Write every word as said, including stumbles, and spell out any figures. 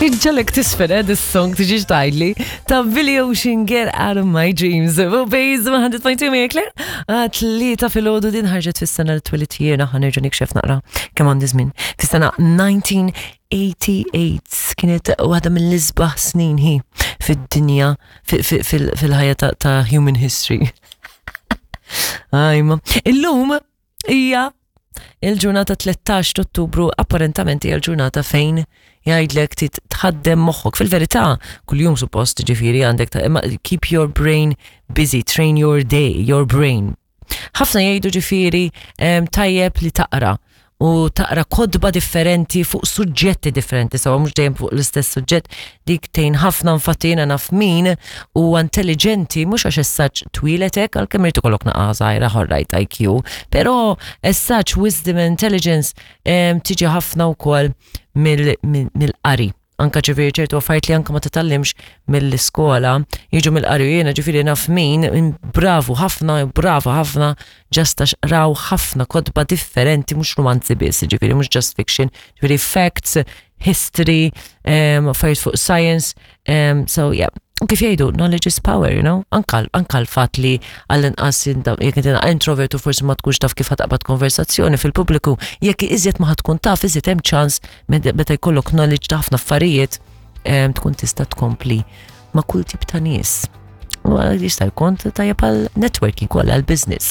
Iġġagħlek tiżfen, eh, this song tiġi tgħidli ta' Billy Ocean, "Get Out of My Dreams". U Bejz mija punt tnejn Maria Claire. Tlieta filgħodu, din ħarġet fis-sena li twelidt jiena, ħa nerġa' nikxef naqra kemm għandi żmien. Fis-sena elf disa' mija tmienja u tmenin kienet waħda mill-isbaħ snin hi fid-dinja, fil-ħajja ta' human history. Ajma. Illum hija il-ġurnata tlettax Ottubru, apparentament hija l-ġurnata fejn jgħidlek tit tħaddem moħħok. Fil-verità, kuljum suppost ġifieri għandek ta' imma keep your brain busy, train your day, your brain. Ħafna jgħidu ġifieri tajjeb li taqra u taqra kotba differenti fuq suġġetti differenti, sawa mhux dejjem fuq l-istess suġġett, dik tgħin ħafna. Infatti jiena naf min u intelligenti mhux għax essaċ twiletek, għalkemm irid ikollok naqa żgħira right I Q, però as such wisdom and intelligence tiġi ħafna wkoll mill-qari. Anka ġifieri ċertu affarijiet li anka ma titgħallimx mill-iskola jiġu mill-qari. Jiena ġifieri naf min bravu ħafna, brava ħafna, just għax raw ħafna kotba differenti, mhux romanzi biss, ġifieri mhux just fiction, ġifieri facts, history, um, affarijiet fuq science, um, so yeah. U kif jgħidu, knowledge is power, you know? Anka, anka l-fat li għall-inqas jekk inti introvert u forsi ma tkunx taf kif ħa taqbad konversazzjoni fil-pubbliku, jekk iżjed ma ħa tkun taf, iżjed hemm ċans meta jkollok knowledge ta' ħafna affarijiet tkun tista' tkompli ma' kull tip ta' nies. U jista' jkun tajjeb għal networking, għal business.